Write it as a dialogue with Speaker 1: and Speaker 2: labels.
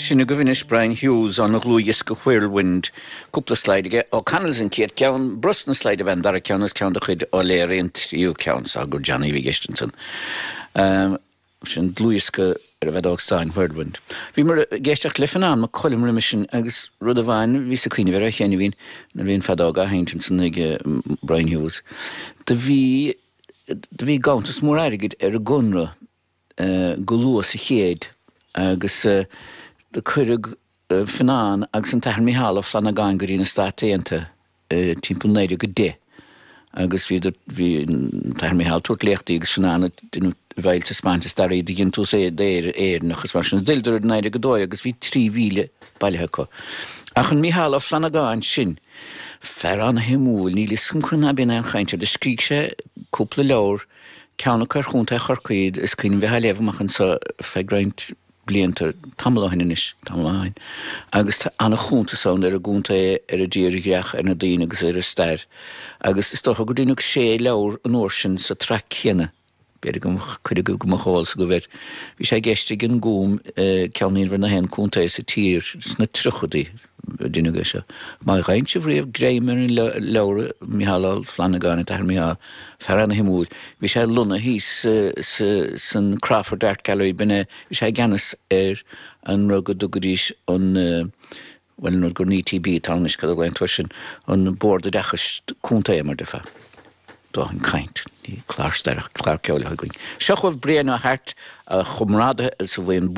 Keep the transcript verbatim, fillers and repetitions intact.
Speaker 1: Sin agaibh anois Brian Hughes óna dhlúthdhiosca Whirlwind cúpla slide aige O'Connell's an chéad ceann Brosna slide a bhean dara ceann is ceann de chuid O'Leary an tríú ceann sa gur Johnny bhí geistansan. Um, sin dlúthdhiosca ar a bheith stáin Whirlwind. Bhí mar géisteach le fan an cholim rim sin agus rud a bhain bhí sa cuioine bhar a chéine bhín na bhíon feadóg a haint san ag Brian Hughes. Do bhí do bhí ganntanas mór airgid ar an gConradh uh, go luath sa chéad agus uh, do cuireadh uh, Fionnán agus an tAthair Micheál Ó Flannagáin go dtí na Stáit Aontaithe uh, timpeall naoi déag a deich. agus bhí bhí tAthair Micheál ag tabhairt léachtaí agus Fionnán bhil spanta starí de gin tú é déir éirnach mar sin d'fhilleadar naoi déag a dó agus bhí trí mhíle bailithe acu. Ach an Micheál Ó Flannagáin sin, fear an-shuimiúil níl fhios agam chun bin an chainteoir de scrígh sé cúpla leabhar ceann ar Chontae Chorcaí is cuimhin bheith léamh amach anseo feadh roinnt blianta tamall ó shin anois tamall ó shin. Agus an-chuntas ann ar an gcontae ar an dtírdhreach ar na daoine agus ar an stair. Agus is dócha gur deineadh sé leabhar an uair sin sa traic céanna. B'fhéidir go chuid go mo cháil sa go bhir. Bhí sé i gceist ag an Gúm ceann na haon contae sa tír sna tríochaidí duine seo. Má ghaint riamh greim ar an leabhar Micheál Ó Flannagáin a Micheál fear an-shuimiúil. Bhí sé lonnaithe san Crawford Art Gallery binne bhí sé i gceannas ar an rud go dtugaidís an well an gur ní TB tánis go lein sin an Bord Oideachais Contae mar defa. Dá an caint ní clár staireach clár ceoil againn. Seo chugaibh Brian Ó hAirt a chomrádaithe sa bhaon